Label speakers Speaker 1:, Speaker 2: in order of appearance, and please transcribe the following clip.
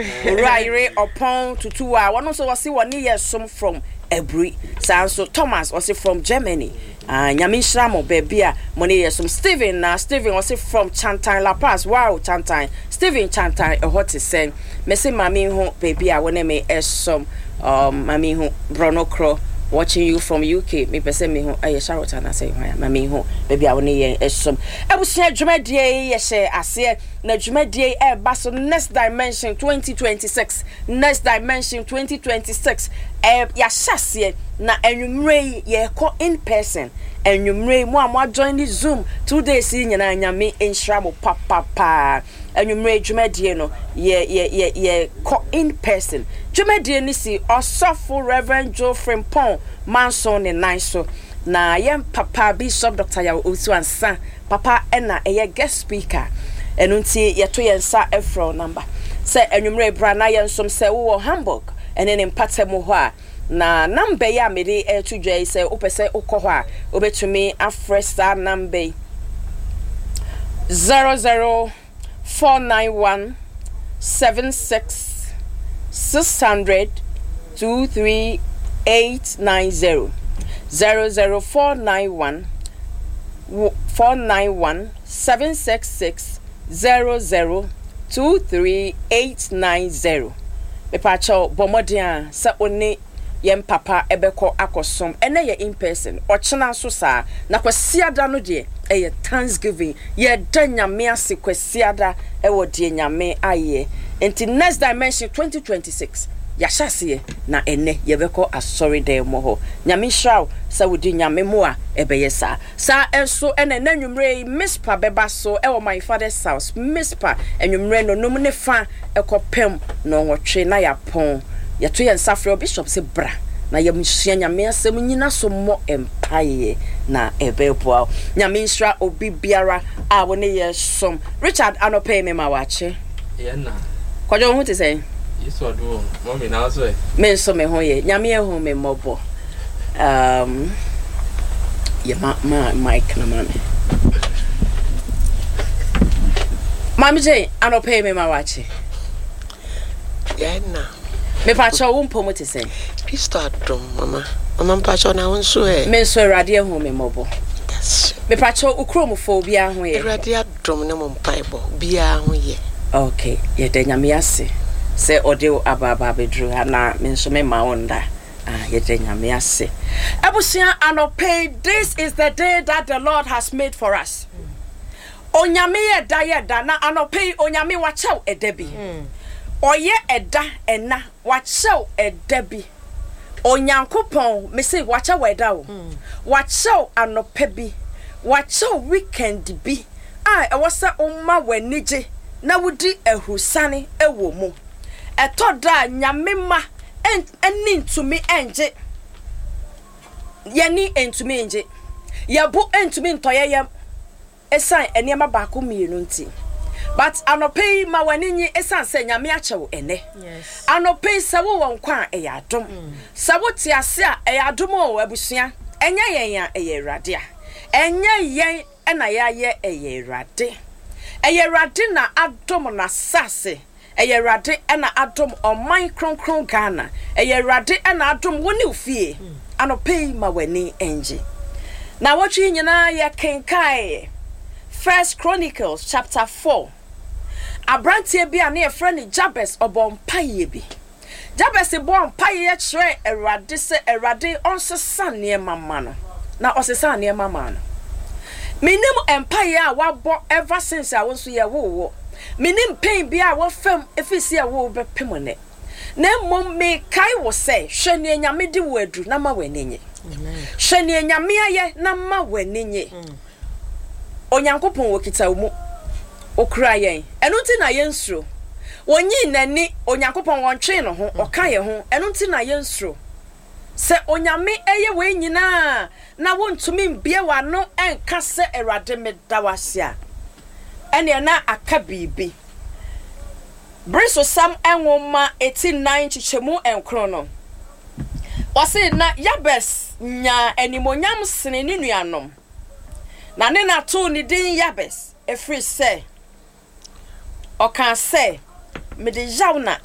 Speaker 1: Owura yere ɔpɔn tutu a wɔn nso wɔse wɔne yɛ som from Aburi. Saa nso Thomas ɔse from Germany. Ah, Nyame nhyira mo baabi a mo ne yɛ som. Steven na Steven ɔse from Chantan La Paz. Wow, Chantan. Steven Chantan ɛhɔ te sɛn? Mese maame hu baabi a wo ne me ɛsom. Maame hu borɔno korɔ. Watching you from UK. Mepɛ sɛ mehu ɛyɛ Charlotte anaasɛ hwan a maame hu baabi a wo ne yɛn ɛsom. Abusua dwumadie yi yɛhyɛ aseɛ Na dwumadie yi ɛreba so Next Dimension 2026, Next Dimension 2026, ɛ yɛahyɛ aseɛ na anwummerɛ yi yɛrekɔ in person. Anwummerɛ yi mo a mo ajoin ne Zoom 2 days yi nyinaa, Nyame nhyira mo papapaa. Anwummerɛ yi dwumadie no yɛ yɛ yɛ yɛkɔ in person. Dwumadie no si Ɔsɔfo Reverend Joe Frimpong Manson ne nan so na yɛn papa Bishop Dr. Yaw Owusu Ansah papa na ɛyɛ guest speaker. Ɛno nti yɛto yɛn nsa frɛ wo number sɛ anwummerɛ bra na yɛnsom sɛ wowɔ Hamburg ɛne ne mpata mu hɔ a, na number yi a mede ɛreto dwa yi, sɛ wopɛ sɛ wokɔ hɔ a, wobɛtumi afrɛ saa number yi, 00491 76 600 23890, 00491 491 766 0023890. Mepaakyɛw, bɔ mmɔden a sɛ wo ne yɛn papa ɛbɛkɔ akɔsom. Ɛnɛ yɛ in person, ɔkyena nso saa, na Kwasiada no deɛ ɛyɛ Thanksgiving, yɛda Nyame ase Kwasiada ɛwɔ deɛ Nyame ayɛ. Nti Next Dimension 2026 yɛahyɛ aseɛ na ɛnɛ yɛbɛkɔ asɔredan mu hɔ. Nyame nhyira wo sɛ wode Nyame mmoa ɛbɛyɛ saa. Saa nso ɛna ɛnɛ anwummerɛ yi Mispa bɛba so ɛwɔ my father's house. Mispa anwummerɛ nonum ne fa ɛkɔpem 8:30 na yɛapɔn. Yɛto yɛn nsa frɛ Bishop sɛ bra na yɛmsua Nyame asɛm nyina so mmɔ mpaeɛ na ɛbɛboa wo. Nyame nhyira obi biara a wo ne yɛ som. Richard, anɔpɛ yi mema wakye.
Speaker 2: Yɛn na.
Speaker 1: Kwadwo, wo ho te sɛn?
Speaker 2: Yesu adom o, mɔmi, na wo so ɛ?
Speaker 1: Me nso me ho yɛ. Nyame ahu me mmɔbɔ. Yɛ ma ma mic na ma me. Maame Jane, anɔpɛ yi mema wakye.
Speaker 3: Yɛn na.
Speaker 1: Mepakyɛw, wo mpɔ mu te sɛn?
Speaker 3: Kristo adom, mama. Mama, mpakyɛw, na wo nso ɛ?
Speaker 1: Me nso Awurade ahu me mmɔbɔ. Mepakyɛw, wo kuromfo obiara ho yɛ?
Speaker 3: Awurade adom ne mo mpaebɔ, obiara ho yɛ.
Speaker 1: Okay, yɛda Nyame ase sɛ ɔde wo aba aba abɛduru ha na me nso mema wo nda. Ah, yɛda Nyame ase. Abusua, anɔpɛ yi, this is the day that the Lord has made for us. Onyame yɛ da yɛ da na anɔpɛ yi Onyame wakyɛw ɛda bi. Ɔyɛ ɛda ɛna wakyɛw ɛda bi. Onyankopɔn, mese wakyɛw ɛda o. Wakyɛw anɔpɛ bi. Wakyɛw weekend bi a ɛwɔ sɛ woma w'ani gye na wodi ahurusane wɔ mu. Ɛtɔ da a Nyame mma ani ntumi ngye. Yɛni ntumi ngye. Yɛbo ntumi ntɔ yɛn yam ɛsiane nneɛma baako mmienu nti. But anɔpɛ yi ma w'ani nye ɛsiane sɛ Nyame akyɛ wo ɛnɛ. Anɔpɛ yi sɛ wowɔ nkwa a, ɛyɛ adom. Sɛ wote ase a, ɛyɛ adom o. Abusua, ɛnyɛ yɛn a, ɛyɛ Awurade a. Ɛnyɛ yɛn ɛna yɛayɛ, ɛyɛ Awurade. Ɛyɛ Awurade na adom n'asase. Ɛyɛ Awurade ɛna adom ɔman kronkron Ghana. Ɛyɛ Awurade ɛna adom wo ne wo fie. Anɔpɛ yi ma w'ani ngye. Na wɔtwe yi nyinaa yɛ kenkae First Chronicles chapter 4. Aberanteɛ bi a ne yɛfrɛ no Jabez ɔbɔ mpaeɛ bi. Jabez bɔɔ mpaeɛ kyerɛɛ Awurade sɛ Awurade ɔnsesa nneɛma ma no. Na ɔsesa nneɛma ma no. Menim mpaeɛ a wabɔ ever since a wo nso yɛwoo wo. Menim pain bi a wɔfam ɛfiri sɛ yɛwoo wo bɛpem nnɛ. Na mmom mekae wo sɛ hwɛ nea Nyame de wo aduru na ma w'ani nye. Hwɛ nea Nyame ayɛ na ma w'ani nye. Onyankopɔn wɔkita wo mu. Okura yɛn. Ɛno nti na yɛnsuro. Wɔnyii n'ani, Onyankopɔn wɔntwee ne ho, ɔka yɛn ho. Ɛno nti na yɛnsuro. Sɛ Onyame ɛyɛ wei nyinaa na wontumi mbie w'ano ɛnka sɛ Awurade meda wo ase a, ɛneɛ na aka biribi. Beresosɛm nwoma eti 4 nkyekyɛmu 9 no, wɔse na Yabes nyaa animonyam sene ne nuanom, na ne na too ne din Yabes, ɛfiri sɛ ɔkaa sɛ, mede yaw na.